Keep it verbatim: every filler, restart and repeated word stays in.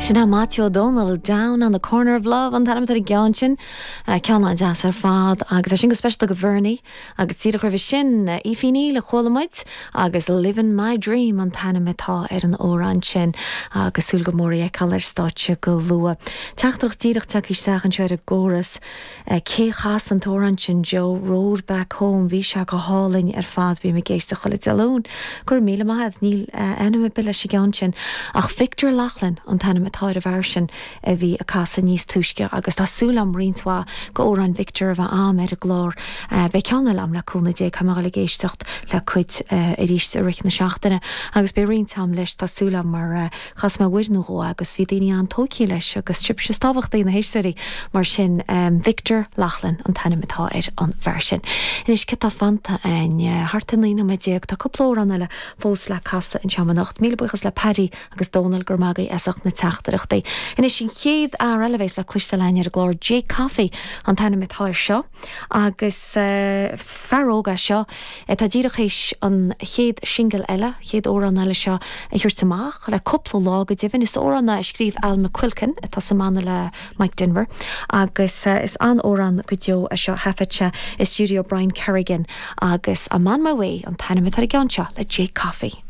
Sin é Maitiú Ó Dónaill down on the corner of love an t-ainm ar an gceann sin ceann an-deas ar fad agus é sin go speisialta do Bhernie agus díreach roimhe sin Aoife Ní a chuala muid agus Living My Dream an t-ainm atá ar an amhrán sin agus súil go mór í a fheiceáil ar stáitse go luath. Teachtaireacht díreach tagtha isteach anseo ar an gcóras cé chas an t-amhrán sin Joe Road Back Home bhí sé go hálainn ar fad bím ag éisteacht chuile Dé Luain. Gur míle maith níl ainm ar bith leis an gceann sin ach Victor Lachlan an t-ainm atá ar an bhfear sin a bhí ag casadh níos túisce agus tá súil agam roinnt mhaith d'amhráin Victor a bheith agam ar an gclár Beidh ceann eile agam le cúnamh Dé tá mé ag éisteacht le cuid arís i rith na seachtaine agus beidh roinnt agam leis tá súil agam mar chas mé uair nó dhó agus bhí daoine an-tógtha leis agus sibhse is tábhachtaí na héisteoirí mar sin um, Victor Lachlan an t-ainm atá ar an bhfear sin. Anois cad tá fanta againn thart ar naoi nóiméad déag tá cúpla amhrán eile fós le casadh anseo anocht. Míle buíochas le Paddy agus Dónal gur magaí esach na teachtaireachtaí. Anois an chéad fhear eile a bheas le cloisteáil againn ar an gclár Jake Coffey an t-ainm atá air seo agus uh, fear óg é seo tá díreach théis an chéad singil eile chéad amhrán eile seo a thabhairt amach le cúpla lá go deimhin is amhrán a scríobh Al McQuilkin atá sa mbanna le Mike Denver agus uh, is an-amhrán go deo é seo thaifead sé i studio Brian Kerrigan agus I'm on my way an t-ainm atá ar an gceann seo le Jake Coffey.